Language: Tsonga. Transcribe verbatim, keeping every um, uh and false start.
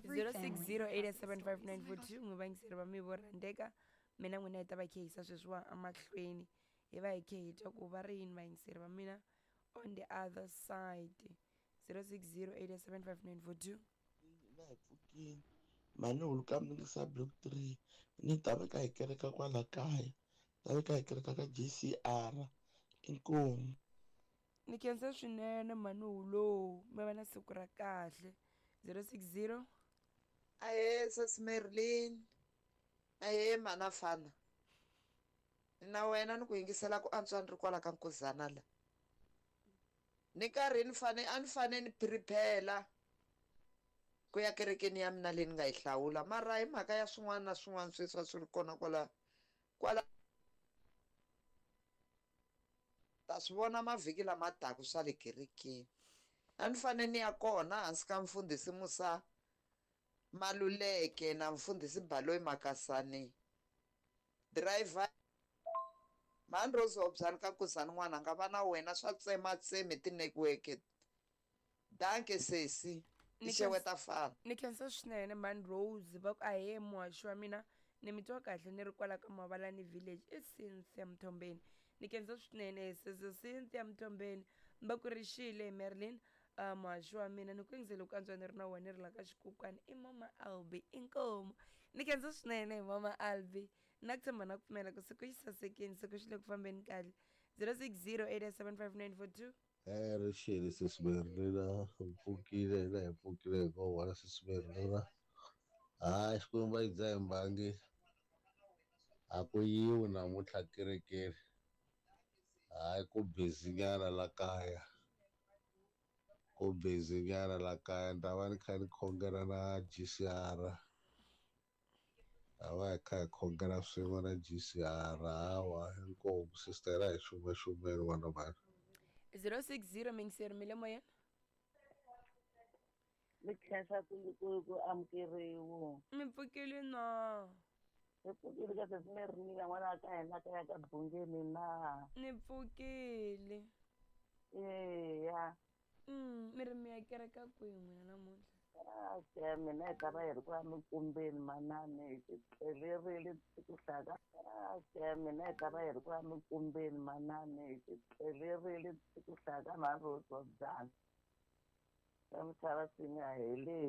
Every zero six family zero eight has its seven five stories. nine four two n'wi vayingiseri va mi vo rhandzeka mina n'wina hi ta va khe hisa sweswiwa emahlweni hi va hi khe hi twa ku va ri yini vayingiseri va mina on the other side zero six zero eight seven five nine four two na hi pfukile mhani huluka mningisa block three ni ta veka hi kereka kwala kaya ta veka hi kereka ka J C R inkomu ni khensa swinene mhani hulo mi va na siku ra kahle zero six zero Ahee sesi Merlin ahee mhana fana na wena ni ku yingisela ku antswa ni ri kwala ka Nkuzana la ni karhi ni fane a ni fane ni prepare ku ya kerekeni ya mina leyi ni nga yi hlawula mara hi mhaka ya swin'wana na swin'wana sweswi a swi ri kona kwala kwala ta swi vona mavhiki lama taka swa le kerekeni a ni fane ni ya kona hansi ka mfundhisi Musa Maluleke na mfundhisi Baloyi Makasani driver mhani Rose Hobyani ka Nkuzana n'wana nga va na wena swa tsematsemi ti-network danke sesi Ni i xeweta fana ni khensa swinene mhani Rose va ku ahee muhaxi wa mina ni mi twa kahle ni ri kwala ka Mavalani village i Cynthia Mthombeni ni khensa swinene sesi Cynthia Mthombeni va ku ri xile Merlin uh, muhaxi wa mina ni ku yingisele ku antswa ni ri na wena ni ri la ka xikukwani i mama Albi inkomu ni khensa swinene mama Albi na ku tshemba na ku pfumela ku siku xi sasekile siku xi le ku fambeni kahle zero six zero eight seven five nine four two Eh ri xile sesi Merlina hi pfukile hina hi pfukile hi ngo vona sesi Merlina hayi Xikwembu a yi dzahi mbangi a ku yiwi namuntlha kerekeni hayi ku busy nyana la kaya ku busy nyana la kaya ni ta va ni kha ni khongela na G C R ta va hi kha hi khongela swin'we na G C R hawa inkomu sister a hi xumaxumeni n'wana mhani zero six zero mingiseri mi le moyeni ni khensa ku ku ku amukeriwa mi pfukile na hi pfukile ka sesi Merlina n'wana ka hina ka ya ka Bungeni na ni pfukile eya mm mi ri mi ya kereka kwihi n'wina namuntlha a mina hi ta va hi ri ku ya mikumbeni manani hi ti tlelerile ku hlaya ka a mina hi ta va hi ri ku ya mikumbeni manani hi ti tlelerile ku hlaya ka mhani Rose Hobyani ka misava swi nga heleli.